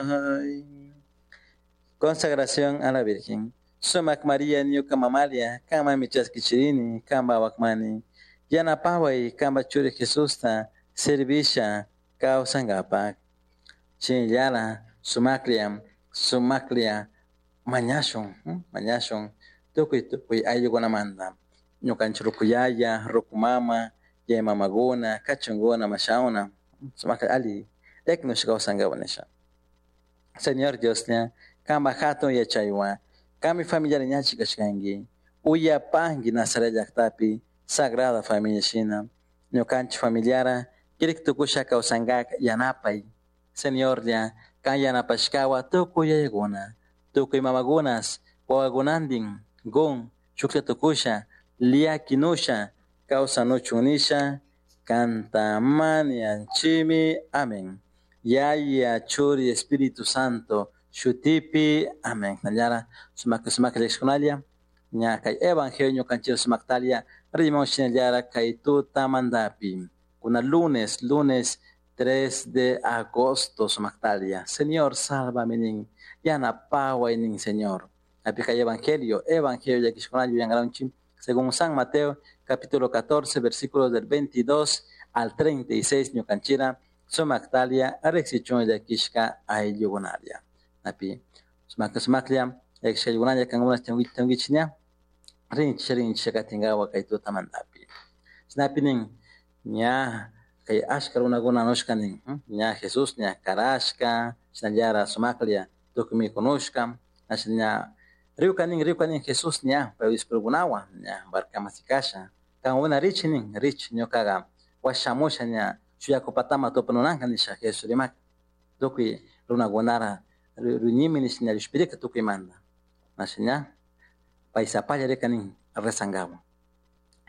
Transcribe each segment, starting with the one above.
Ay. Consagración a la Virgen. Sumac María ñuka mamalia, kanmanmi chaskichirini, kanpa wakmani. Yanapaway kanpa churi Jesusta servisha kawsankapak. Chinllara sumaklla, sumaklla mañashun, mañashun tukuy tukuy ayllukunamanta. Ñukanchik rukuyaya, rukumama, yayamamakuna, kachunkuna, mashawna, sumaklla alli llakinash kawsankapak nisha. Señor Dioslla, kanpak hatun yachaywan, kanmi familiar ñachik kashkanki, uyapanki Nazaret llaktapi Sagrada Familia shina, ñukanchik familiara kirik tukusha kawsankak yanapay. Señorlla, kan yanapashkawa tukuy yayakuna, tukuy mamakunas, wawakunantin, gun, shuklla tukusha, llakinusha, kawsanuchun nisha, kanta mañanchimi. Amén. Yaya, Churi, Espíritu Santo, shutipi. Amén. Nallara, sumak sumak llakishkunalla, ña kay evangelio ñukanchik sumaktalia, rimon shinallara kay tutamantapi. Kuna lunes, lunes 3 de agosto sumaktalia. Señor, sálvame nin, yanapaway nin, Señor. Api kay evangelio, evangelio llakishkunalla yuyankaranchik, según San Mateo, capítulo 14, versículos del 22 al 36, ñukanchira, sumaktalia, riksichun llakishka ayllukunalla. Api, sumak sumaklla, llakishka ayllukunalla, kankuna tunkichik ña, rinchik rinchik katinkawa kay tutamantapi. Chaynapi nin, ña kay ashka runakuna nushka nin, ña Jesús ña karashka, chinallara sumaklla tukuy mikunushka, asha ña riwka nin, riwka nin Jesús ña pay discípulokunawan ña barcaman sikasha, kankuna richik nin, richik ñukaka washamusha ña shuyaku patama tupanunanka nisha Jesús rimaka, tukuy runakunara rinimi nisha ña llushpirika tukuymanta, asha ña pay sapalla rika nin rezankawa.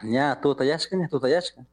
Ña tutayashka, ña tutayashka,